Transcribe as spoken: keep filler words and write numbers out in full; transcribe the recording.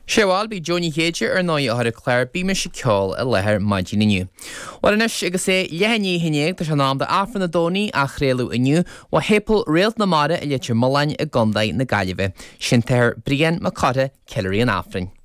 Sé bhuel b'í Joe Ní Chéide ar ndóigh a chuir an clár Bímis ag Ceol i láthair maidin inniu. Bhuel anois agus é leath i ndiaidh a haon déag tá sé in am d'Aifreann an Domhnaigh á chraoladh inniu ó Shéipéal Réalt na Mara i Leitir Mealláin i gContae na Gaillimhe. Sin t-Athair Brian Mac Cárthaigh, ceiliúraí an Aifrinn.